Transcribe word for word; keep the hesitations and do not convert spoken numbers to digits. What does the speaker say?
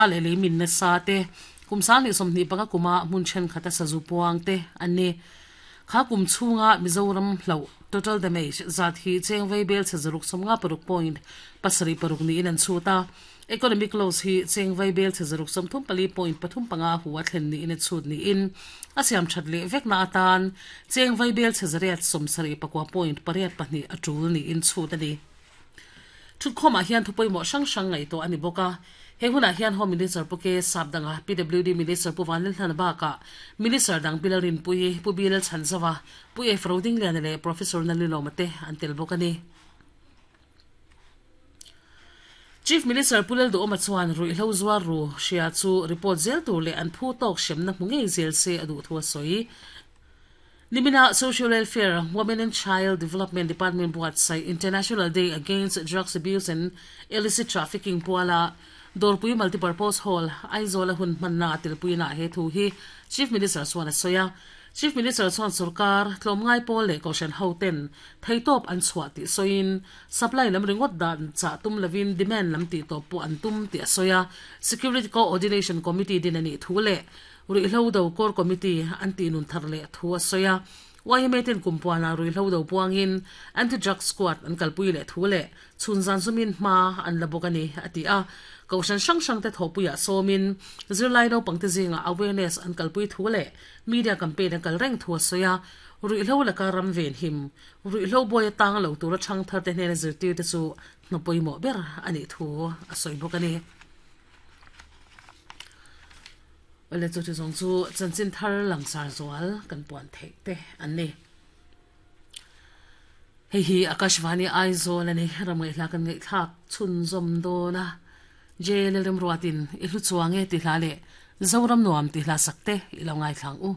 Le le min na sa te kum sang ni somni panga kuma mun chen khata sazu puang te anni kha kum chunga Mizoram hlo total damage zat hi chengvei bel chazaruk somnga paruk point pasari paruk ni in an chuta economic loss hi chengvei bel chazaruk somthum pali point pathum panga huwa thlen ni in chut ni in asiam thatle vekna atan chengvei bel chazariat somsari pakwa point pariat pahni atul ni in chut ani thutkhoma hian thupoi mo sang sang ngai to ani boka he huna hian home minister puke sapdanga P W D minister pu vanlal thana ba ka minister dang bilarin pui pu bilal chanzawa pu e frauding lian le professor nalilo mate antel bokani Chief Minister Pulel do omachuan rui hlo zuar ru shia chu report zel tur le an phu tok shemna hmungei zel se adu thua soi Nimina Social Welfare, Women and Child Development Department buat sai International Day Against Drugs Abuse and Illicit Trafficking puala Dorpui Multipurpose Hall Aizola hun manna tilpui na he thu hi Chief Minister Swana Soya Chief Minister Swan Sarkar tlomngai pol le koshan hoten thaitop an chhuati soin supply lam ringot dan cha tum lavin demand lam ti to pu an tum ti soya Security Coordination Committee dinani thule rui hlo do core committee anti nun tharle thua soya waimetin kumpuana rui hlo do puangin anti drug squad an kalpui le thule chunzan sumin ma an labokani ati a koshan sang sang te thopuya somin zirlai no pangte zinga awareness an kalpui thule media campaign an kalreng thua soya rui hlo la karam ven him rui hlo boy tang lo tura thang thar te hne zirti te chu hnapoimo ber ani thu a soibokani ole chu chu zong chu chanchin thar langsar zual kan puan thei te an ni hei hi Akashvani Aizawl ani ramngai hla kan ngai thlak chhun zawm dawna jail rem ruatin i hlu chuange ti hla le Zoram nuam ti hla sakte i lo ngai thlang u.